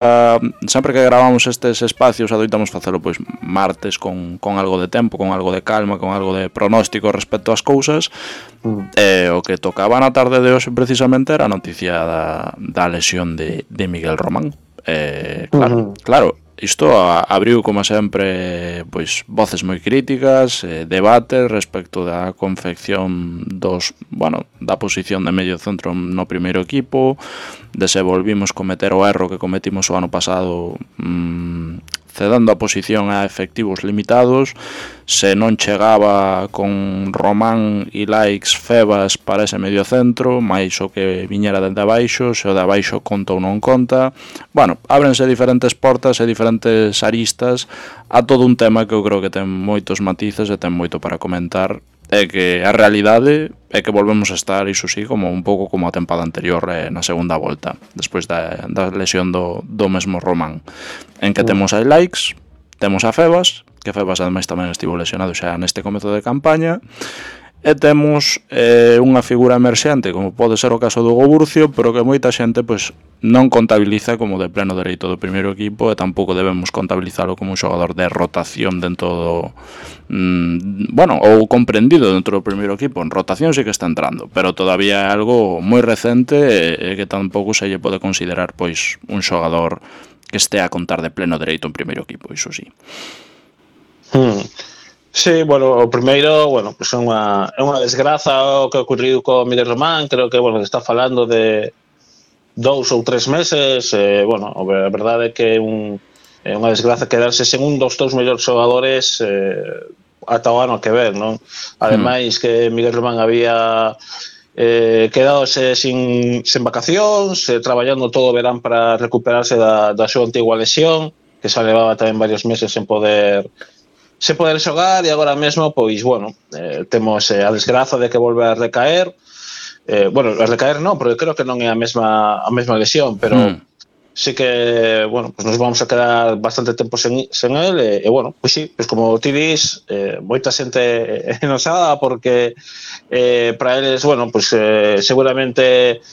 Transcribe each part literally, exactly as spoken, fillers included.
Uh, sempre que gravamos estes espacios adoitamos facelo pois martes con, con algo de tempo, con algo de calma, con algo de pronóstico respecto ás cousas. mm. E o que tocaba na tarde de hoxe precisamente era a noticia da, da lesión de, de Miguel Román. eh, Claro, uh-huh. claro isto a, abriu como sempre pois voces moi críticas, eh, debates respecto da confección dos, bueno, da posición de medio centro no primeiro equipo, de se volvimos cometer o erro que cometimos o ano pasado, mmm, cedendo a posición a efectivos limitados, se non chegaba con Román e Laiks Febas para ese medio centro, máis o que viñera dende abaixo, se o de abaixo conta ou non conta. Bueno, ábrense diferentes portas e diferentes aristas a todo un tema que eu creo que ten moitos matices e ten moito para comentar, e que a realidade é que volvemos a estar, iso sí, como un pouco como a tempada anterior, eh, na segunda volta, despois da, da lesión do, do mesmo Román, en que uh. temos a Laiks, temos a Febas, que Febas ademais tamén estivo lesionado xa neste comezo de campaña, e temos eh, unha figura emerxente como pode ser o caso do Hugo Burcio, pero que moita xente pois non contabiliza como de pleno dereito do primeiro equipo, e tampouco debemos contabilizalo como un xogador de rotación dentro do mm, bueno, ou comprendido dentro do primeiro equipo. En rotación sí que está entrando, pero todavía é algo moi recente e, e que tampouco se lle pode considerar pois un xogador que este a contar de pleno dereito en primeiro equipo, iso sí. Hmm. Sí, bueno, o primeiro, bueno, pues é unha, é unha desgraza o que ocorriu co Miguel Román. Creo que, bueno, está falando de dous ou tres meses, eh, bueno, a verdade é que é, un, é unha desgraza quedarse sen un dos dous mellores xogadores eh, ata o ano que ven, non? Ademais mm. que Miguel Román había eh, quedadose sin, sin vacacións, eh, traballando todo o verán para recuperarse da, da súa antigua lesión, que xa levaba tamén varios meses sen poder se poder xogar, e agora mesmo, pois, bueno, eh, temos eh, a desgraza de que volve a recaer. Eh, bueno, a recaer non, porque creo que non é a mesma a mesma lesión, pero mm. sí que, bueno, pues nos vamos a quedar bastante tempo sen, sen él, e, e bueno, pois sí, pues como ti dis, eh, moita xente enosada, porque eh, para eles, bueno, pues eh, seguramente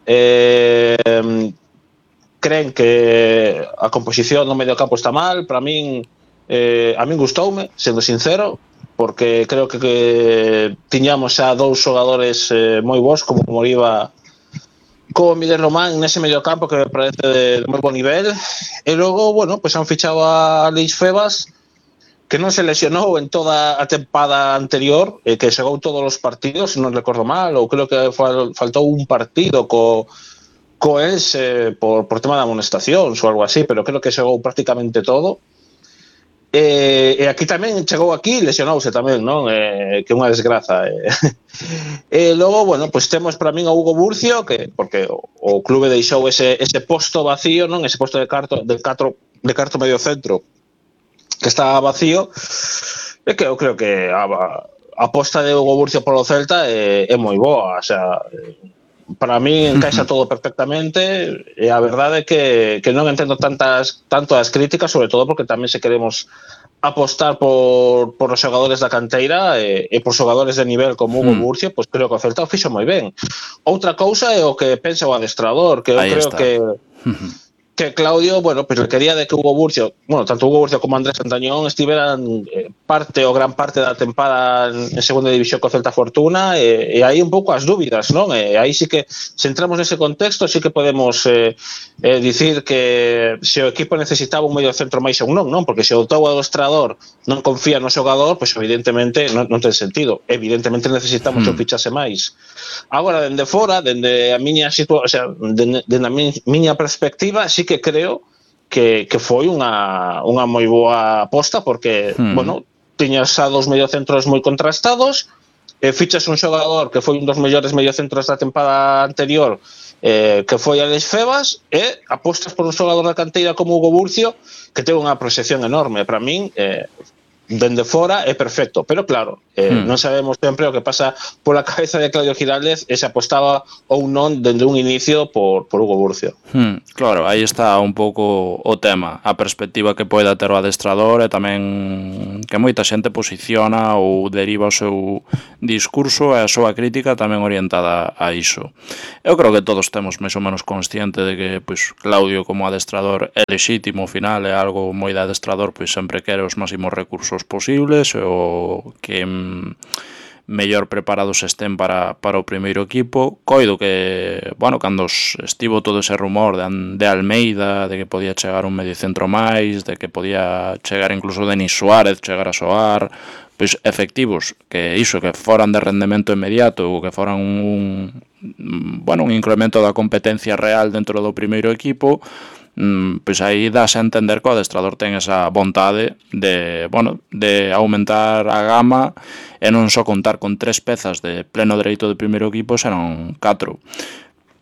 eh, creen que a composición no medio campo está mal. Para min, Eh, a min gustoume, sendo sincero, porque creo que, que tiñamos xa dous xogadores eh, moi bons, como Moriba, como Miguel Román, nese medio campo, que me parece de, de moi bon nivel. E logo, bueno, pues han fichado a Leis Febas, que non se lesionou en toda a tempada anterior, eh, que xogou todos os partidos, se non recordo mal, ou creo que fal, faltou un partido co co ES eh, por, por tema de amonestacións ou algo así, pero creo que xogou prácticamente todo. E, e aquí tamén chegou aquí, lesionouse tamén, non? Eh, que é unha desgraza. Eh. E logo, bueno, pois temos para min a Hugo Burcio, que porque o, o clube deixou ese, ese posto vacío, non? Ese posto de carto de catro de carto medio centro que está vacío, e que eu creo que a, a aposta de Hugo Burcio polo Celta é, é moi boa, o sea, para mí encaixa todo perfectamente, e a verdade é que, que non entendo tantas tanto as críticas, sobre todo porque tamén se queremos apostar por, por os xogadores da canteira e, e por xogadores de nivel como Hugo mm. Burcio, pois creo que o Celta o fixo moi ben. Outra cousa é o que pensa o adestrador, que eu Ahí creo está. que que Claudio, bueno, pues le quería de que Hugo Burcio, bueno, tanto Hugo Burcio como Andrés Santañón estiveran eh, parte o gran parte da tempada en segunda división co Celta Fortuna, e, e aí un pouco as dúbidas, non? E aí sí que, se entramos nese contexto, sí que podemos eh, eh, dicir que se o equipo necesitaba un medio centro máis ou non, non? Porque se o teu adestrador non confía no xogador, pois pues evidentemente non, non ten sentido. Evidentemente necesitamos hmm. que o fichase máis. Agora, dende fora, dende a miña situación, o sea, dende, dende a miña perspectiva, sí que creo que, que foi unha, unha moi boa aposta, porque, hmm. bueno, tiñas a dos mediocentros moi contrastados, e fichas un xogador que foi un dos mellores mediocentros da tempada anterior, eh, que foi Alex Febas, e apostas por un xogador da canteira como Hugo Burcio, que ten unha proxección enorme. Para min, eh, dende fora é perfecto, pero claro, Eh, Hmm. Non sabemos sempre o que pasa pola cabeza de Claudio Giraldez e se apostaba ou non dende un inicio por, por Hugo Burcio. Hmm, claro, aí está un pouco o tema, a perspectiva que poida ter o adestrador e tamén que moita xente posiciona ou deriva o seu discurso e a súa crítica tamén orientada a iso. Eu creo que todos temos máis ou menos consciente de que pois, Claudio como adestrador é lexítimo, ao final é algo moi de adestrador, pois sempre quere os máximos recursos posibles e o que mellor preparados estén para, para o primeiro equipo. Coido que, bueno, cando estivo todo ese rumor de, de Almeida, de que podía chegar un mediocentro máis, de que podía chegar incluso Denis Suárez, chegar a soar, pois efectivos, que iso, que foran de rendemento inmediato ou que foran un, bueno, un incremento da competencia real dentro do primeiro equipo, pois aí dás a entender que o adestrador ten esa vontade de, bueno, de aumentar a gama e non só contar con tres pezas de pleno dereito de primeiro equipo, senón catro.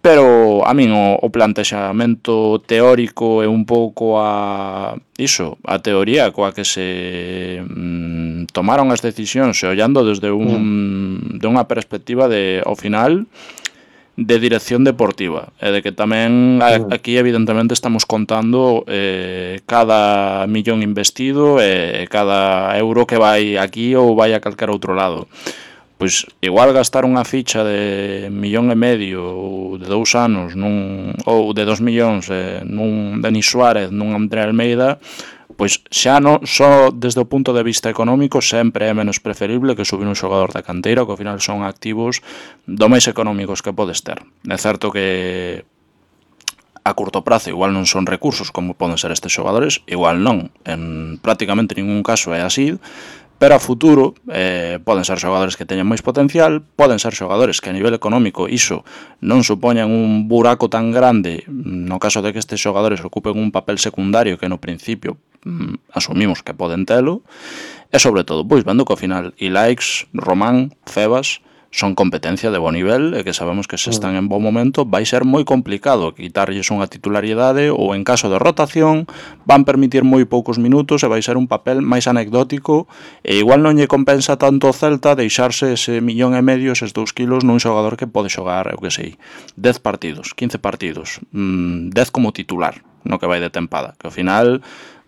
Pero a min o, o plantexamento teórico é un pouco a iso, a teoría coa que se mm, tomaron as decisións e ollando desde un, de unha perspectiva de, ao final, de dirección deportiva, e de que tamén aquí evidentemente estamos contando eh, cada millón investido e cada euro que vai aquí ou vai a calquer outro lado. Pois igual gastar unha ficha de millón e medio ou de dous anos nun, ou de dos millóns eh, nun Denis Suárez, nun André Almeida, pois xa non só desde o punto de vista económico sempre é menos preferible que subir un xogador da canteira, que ao final son activos do máis económicos que podes ter. É certo que a curto prazo igual non son recursos como poden ser estes xogadores, igual non, en prácticamente ningún caso é así, pero a futuro eh, poden ser xogadores que teñan máis potencial, poden ser xogadores que a nivel económico iso non supoñan un buraco tan grande no caso de que estes xogadores ocupen un papel secundario que no principio mm, asumimos que poden telo, e sobre todo, pois vendo que ao final Ilaix, Román, Febas son competencia de bo nivel e que sabemos que se están en bo momento, vai ser moi complicado quitarlles unha titularidade ou en caso de rotación van permitir moi poucos minutos e vai ser un papel máis anecdótico e igual non lle compensa tanto o Celta deixarse ese millón e medio, eses dous kilos nun xogador que pode xogar, eu que sei, dez partidos, quince partidos, mmm, dez como titular no que vai de tempada, que ao final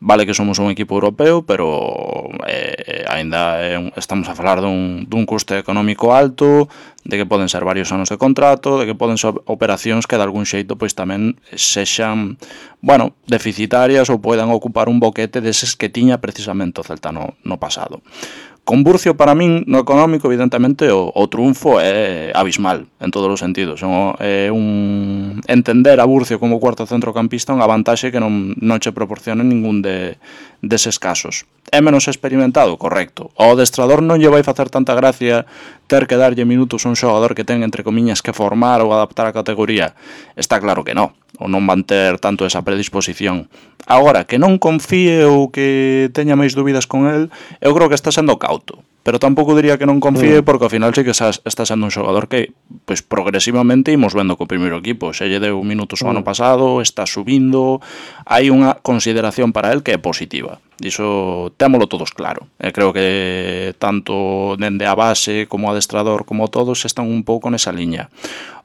vale que somos un equipo europeo, pero eh, ainda é un, estamos a falar dun, dun custe económico alto, de que poden ser varios anos de contrato, de que poden ser operacións que de algún xeito pois tamén sexan, bueno, deficitarias ou poidan ocupar un boquete deses que tiña precisamente o Celta no, no pasado. Con Burcio, para min, no económico, evidentemente, o, o triunfo é abismal, en todos os sentidos. É un entender a Burcio como cuarto centrocampista unha vantaxe que non, non che proporciona ningún de, deses casos. É menos experimentado? Correcto. O adestrador non lle vai facer tanta gracia ter que darlle minutos a un xogador que ten, entre comiñas, que formar ou adaptar a categoría? Está claro que non. Ou non van ter tanto esa predisposición. Agora, que non confíe ou que teña máis dúbidas con el, eu creo que está sendo cauto. Pero tampouco diría que non confíe, porque ao final sí que está sendo un xogador que pois progresivamente imos vendo co primeiro equipo. Se lle deu minutos o ano pasado, está subindo, hai unha consideración para el que é positiva. Iso témolo todos claro. E creo que tanto dende a base como o adestrador como todos están un pouco nesa liña.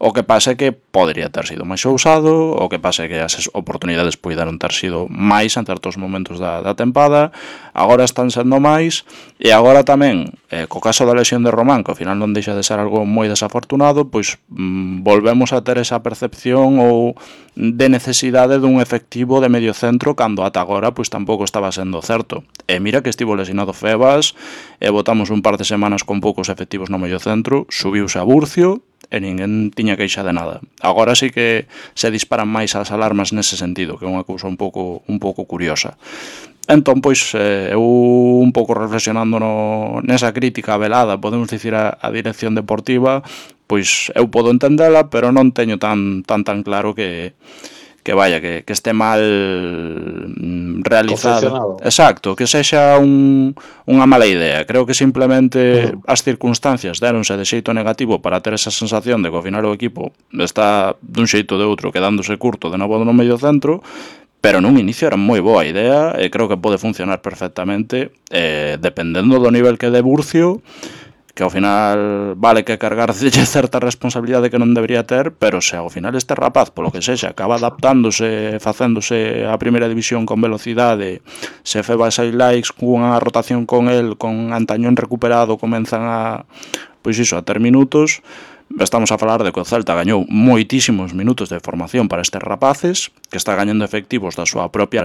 O que pasa é que podería ter sido máis ousado, o que pasa é que as oportunidades poideron ter sido máis en certos momentos da, da tempada, agora están sendo máis, e agora tamén, eh, co caso da lesión de Román, que ao final non deixa de ser algo moi desafortunado, pois mm, volvemos a ter esa percepción ou de necesidade dun efectivo de medio centro cando ata agora pois tampouco estaba sendo certo. E mira que estivo lesionado Febas, e botamos un par de semanas con poucos efectivos no medio centro, subiuse a Burcio, e ninguén tiña queixa de nada. Agora sí que se disparan máis as alarmas nese sentido, que é unha cousa un pouco un pouco curiosa. Entón, pois, eh, eu un pouco reflexionando no, nesa crítica velada, podemos dicir, a, a dirección deportiva, pois eu podo entendela, pero non teño tan tan tan claro que que vaya, que, que este mal realizado. Exacto, que sexa un, unha mala idea. Creo que simplemente uh. as circunstancias deronse de xeito negativo para ter esa sensación de que ao final o equipo está dun xeito de outro quedándose curto de novo no medio centro, pero nun inicio era moi boa idea e creo que pode funcionar perfectamente, eh, dependendo do nivel que de Burcio. que ao final vale que cargarlle certa responsabilidade que non debería ter, pero se ao final este rapaz, polo que sexa, acaba adaptándose, facéndose a primeira división con velocidade, se feba seis likes cunha rotación con el, con Antañón recuperado, comenzan a, pois iso, a ter minutos, estamos a falar de que o Celta gañou moitísimos minutos de formación para estes rapaces, que está gañando efectivos da súa propia